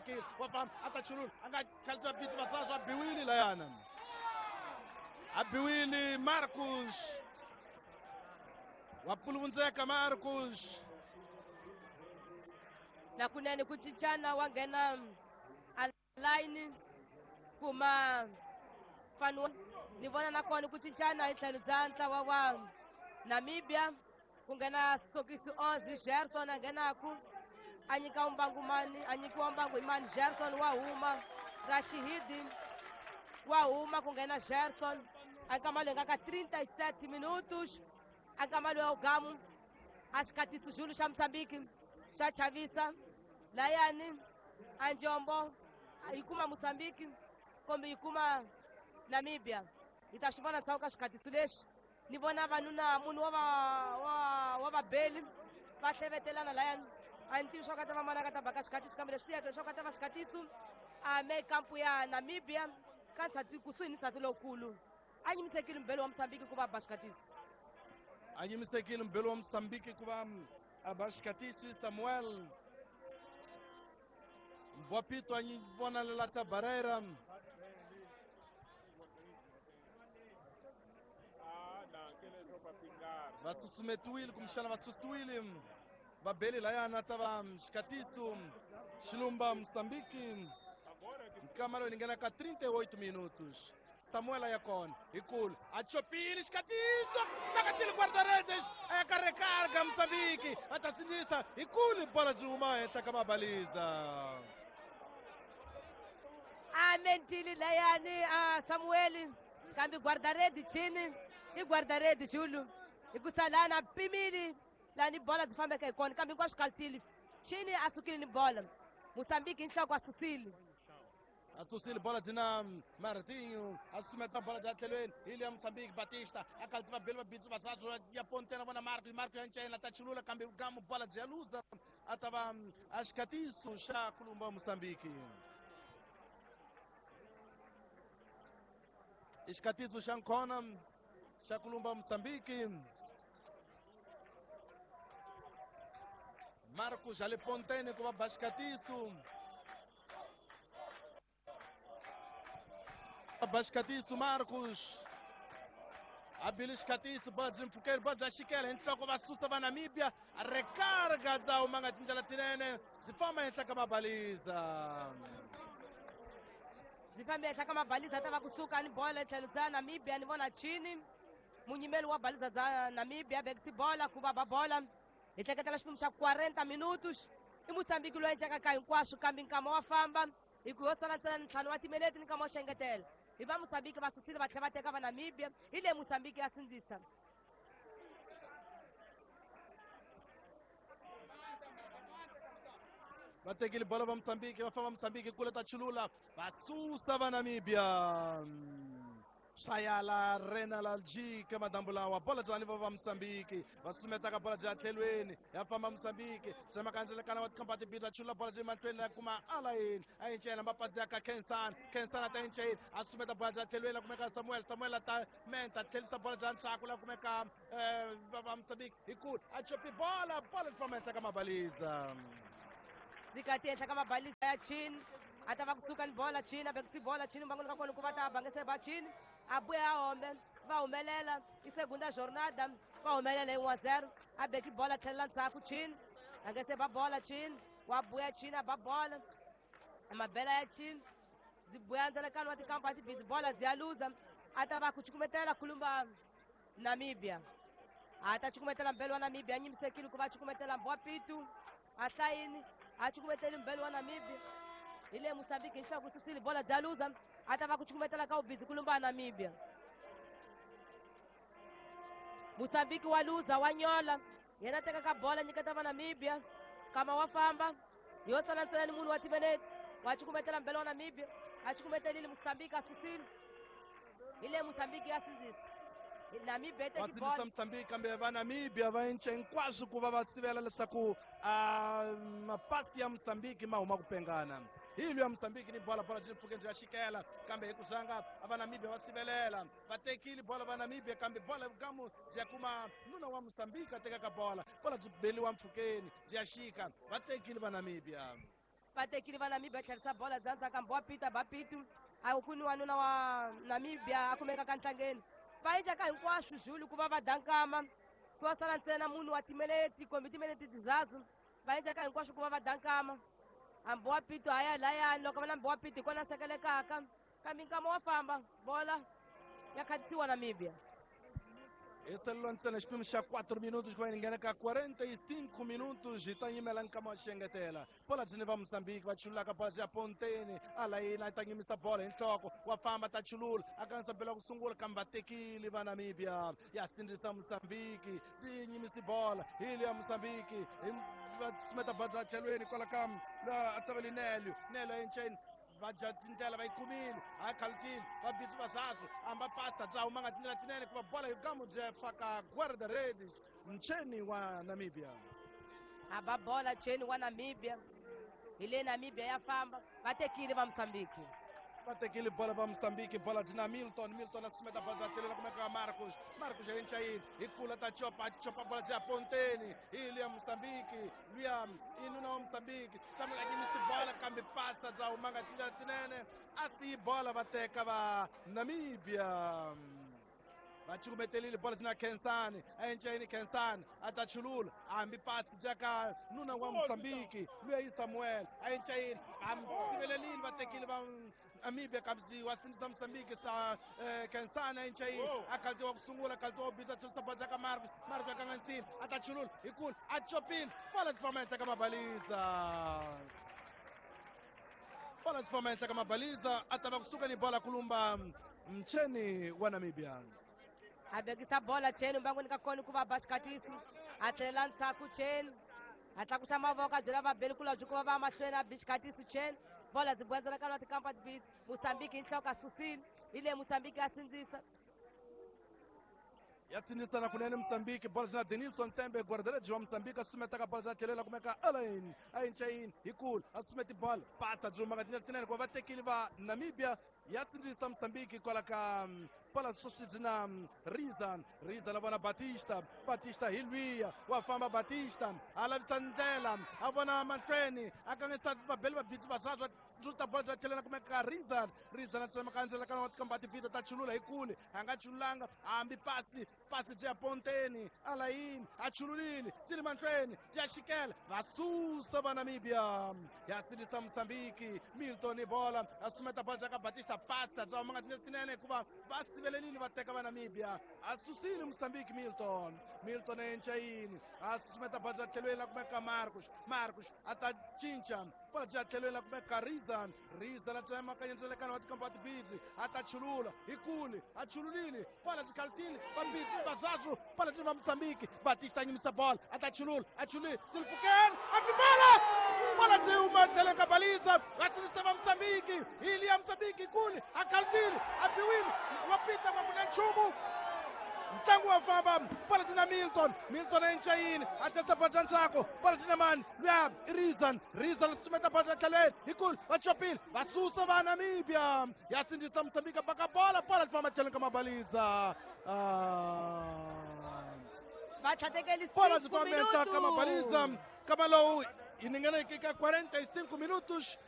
chulukile wa famba a ta chulula a nga khalita bitsi vatswaswa a biwile layana a biwile Marcus wa puluvundzeka Marcus nakunene ku cincana wa nghena line kuma fanu ni vona nakona ku cincana hi tlhelo bya ntlawa wa Namibia ku nghena Sokisi Ozi Gerson a nghenaku a nyika mbangu mani a nyikiwa mbangu hi mani Gerson wa huma Rashihidi wa huma ku nghena Gerson a nkama loyi nga ka 37 minutos a nkama loyi wa ugamu a xikatiso xulu xa Mozambique xa chavisa layani a njombo yi kuma Mozambique kumbe yi kuma Namibia hi ta swi vona ndzhaku ka xikatiso lexi ni vona vanuna munhu wa vabeli va hlevetelana layani a ni tivi swa ku a ta va mani a nga ta baka xikatiso kambe leswi tiyaka leswaku a ta va xikatiso a me kampu ya Namibia ka nsati kusuhi ni nsati lowukulu a nyimisekile mbhelo wa Mozambique ku va ba xikatiso a nyimisekile mbhelo wa Mozambique ku va a ba xikatiso Samuel Mbwapito a vona Lelata Barreira va susumetiwile kumbexana va susiwile vabeli layana ta va xikatiso xilumba Mozambique nkama loyi ni nghena ka 38 minutos Samuel ya kona hi kulu a chopile xikatiso takatile guarda-redes a ya ka recarga Mozambique a ta sindzisa hi kulu bola byi huma henhla ka mabaliza a mentili layani a Samuel kambe guarda-rede chini i guarda-rede xulu hikusa lani a pimile lani bola byi fambeka hi kona kambe hinkwaswo kalitile chini a sukile ni bola Mozambique hi nhloko a susile a susile bola byi na Martinho a susumeta bola bya tlhelweni hi le ya Mozambique Batista a kalti vabeli vabitsi vatsatsu ya pontena vona Marco Marco ya ncena ta chulula kambe gamu bola byi ya luza a ta va a xikatiso xa kulumba Mozambique i xikatiso xa nkhona xa kulumba Mozambique Marcos ale pontene ku va ba xikatiso Bascatiso Marcos a bile xikatiso bola byi mpfhukeli bola bya xikela hi nhloko va susa va Namibia recarga dza huma nga tindlela tinene byi famba henhla ka mabaliza byi fambe henhla ka mabaliza ta va kusuka ni bola tlhelo bya Namibia ni vona chini munyimeli wa baliza bya Namibia bekisi bola ku va ba bola hi hleketela xiphemu xa 40 minutos i Mozambique loyi encaka ka hinkwaswo kambe nkama wa famba hi ku yo sala ntsena ntlhanu wa timinete ni nkama wa xengetela hi va Mozambique va susile va tlhela va teka va Namibia hi le Mozambique ya sindzisa va tekile bola va Mozambique va famba Mozambique kule ta chulula va susa va Namibia swayala rena la jika madambu lawa bola byani va va Mozambique va sumetaka bola bya tlhelweni ya famba Mozambique tsemakandzelekana wa tikhamba timbirhi va chula bola bya mahlweni la kuma alayini a yincela mapasi ya ka Kensan Kensan a ta yincela a sumeta bola bya tlhelweni la kumeka Samuel Samuel a ta menta tlhelisa bola bya ntshaku la kumeka va va Mozambique hi kulu a chopi bola bola li famba henhla ka mabaliza zikati henhla ka mabaliza ya chini a ta va kusuka ni bola chini a bekisi bola chini mbangoni ka kona ku va ta bangese ba chini a buya a hombe va humelela i segunda jornada va humelela hi 1-0 a beki bola tlhelela ndzhaku chini a nge se ba bola chini wa buya chini a ba bola mabela ya chini byi buya ndzelekano wa tikampa tibidzi bola byi ya luza a ta va ku cukumetela khulumba Namibia a ta cukumetela mbelo wa Namibia a nyimisekile ku va cukumetela Mbwapitu a hlayini a cukumeteli mbelo wa Namibia hi le Mozambique hi nhloko susile bola bya luza a ta va ku cukumetela ka ubidzi kulumba Namibia Mozambique wa luza wa nyola yena teka ka bola nyiketa va Namibia kama wa famba yo sala ntsena ni munhu wa timinete wa cukumetela mbelo wa Namibia a cukumetelile Mozambique a susile hi le Mozambique ya sindzisa Namibia yi va teki sindzisa bola Mozambique kambe va Namibia va cinca hinkwaswo ku va va sivela leswaku mapasi ya Mozambique ma huma ku pengana hi luya Mozambique ni bola bola byi pfuke byi ya xikela kambe hi ku zanga va Namibia va sivelela va tekile bola va Namibia kambe bola vugamu byi ya kuma nuna wa Mozambique a tekaka bola bola byi beliwa mpfhukeni byi ya xika va tekile va Namibia. Va tekile va Namibia, tlherisa bola bya ndzhaka Mbowa Peter Bapitu. A ku ni wanuna wa Namibia a kumeka ka ntlangeni. Va endlaka hinkwaswo Zulu ku va va dankama. Ku va sala ntsena munhu wa timeleti kumbe timeleti tizazu. Va endlaka hinkwaswo ku va va dankama. Hambi wa Pito haya layani loko va na Mbowa Pito hi kona sekelekaka. Kambe nkama wa famba bola ya khatisiwa Namibia. Hi ntsena xipimo xa 4 minutos ku va yi nghena ka 45 minutos hi ta nyimela nkama wa xengetela. Bola byi ni va Mozambique va chululaka bola byi ya ponteni alayini a ta nyimisa bola hi nhloko wa famba ta chulula a kanisa bela ku sungula kambe va tekile va Namibia ya sindzisa Mozambique ti nyimisi bola hi le ya Mozambique hi va sumeta bola bya tlhelweni kwala ka a taveli Nelio Nelio enceni va dya tindlela va yi kumile a khalutile va bitsi va swaswo amba pasa bya huma nga tindlela tinene ku va bola hi gamu bya faka guarda-redes mcheni wa Namibia. A ba bola cheni wa Namibia. Hi le Namibia ya famba va tekile va Mozambique. Va tekile bola va Mozambique bola byi na Milton Milton a sumeta bola bya tlhelela kumeka Marcos Marcos ya enchayini hi kula ta chopa chopa bola bya ponteni hi le ya Mozambique luya i nuna wa Mozambique Samuel a nyimisi bola kambe pasa bya huma nga tindlela tinene a siyi bola va teka va Namibia. Va cukumetelile bola byi na Khensani a encayini Khensani a ta chulula hambi pasi jaka nuna wa Mozambique luya yi Samuel a encayini a sivelelile va tekile va Namibia kambe wa sindzisa Mozambique sa Khensani a encayini a khalitiwa ku sungula khalitiwa ku bitsa chulisa bola jaka Marco Marco a kanganisile a ta chulula hi kulu a chopile bola byi famba henhla ka mabaliza bola byi famba henhla ka mabaliza a ta va kusuka ni bola kulumba mcheni wa Namibia. A vekisa bola cheni mbangwini ka kona ku va ba xikatiso a tlhelela ndzhaku cheni a tlakusa mavoko a byela vabeli kulobye ku va va mahlweni a bi xikatiso cheni bola byi bwandzela ka lwa beats Mozambique hi nhloko a susile hi le Mozambique ya sindzisa. Ya sindzisana kunene Mozambique bola byi na Denilson Tembe guarda-redes wa Mozambique a sumetaka bola bya tlhelela kumeka Alain a encayini hi kulu a sumeti bola pasa byi humaka tindlela tinene ku va va tekile va Namibia ya sindzisa Mozambique kwala ka bola sweswi byi na Riza Riza na vona Batista Batista hi lwiya wa famba Batista a lavisa ndlela a vona mahlweni a kangisa vabeli va bitsi va swaswa ta bola bya tlhelela kumeka Riza Riza na tsemaka ndzela ka kambe tivita ta chulula hi kule a nga chululanga hambi pasi pasi bya ponteni alayini a chululile ti ri mahlweni bya xikela va susa va Namibia ya sindzisa Mozambique Milton bola a sumeta bola bya ka Batista pasa bya huma nga tinene tinene hikuva va sivelelile va teka va Namibia a susile Mozambique Milton Milton encayini a susumeta bola bya tlhelweni la kumeka Marcos Marcos a ta cinca bola bya tlhelweni la kumeka Riza Riza la tsemaka ndzalekano wa tikampa tibidzi a ta chulula hi kule a chululile bola byi khalutile va bidzi va swaswo bola byi va Mozambique Batista nyimisa bola a ta chulula a chulile tilipfukeni a bi bola bola byi huma tlhelweni ka baliza va sindzisa va Mozambique hi liya Mozambique kule a khalutile a biwile wa pita va ku na nchumu ntlangu wa famba bola byi na Milton Milton a encayini a tesa bola bya ndzhaku bola byi na mani luya i Rizan Rizan sumeta bola bya tlhelweni hi kulu va chopile va susa va Namibia ya sindzisa Mozambique baka bola bola byi famba tlhelweni ka mabaliza Va tlhatekeli bola byi famba henhla ka mabaliza kama lowu yi ningana ka 45 minutos.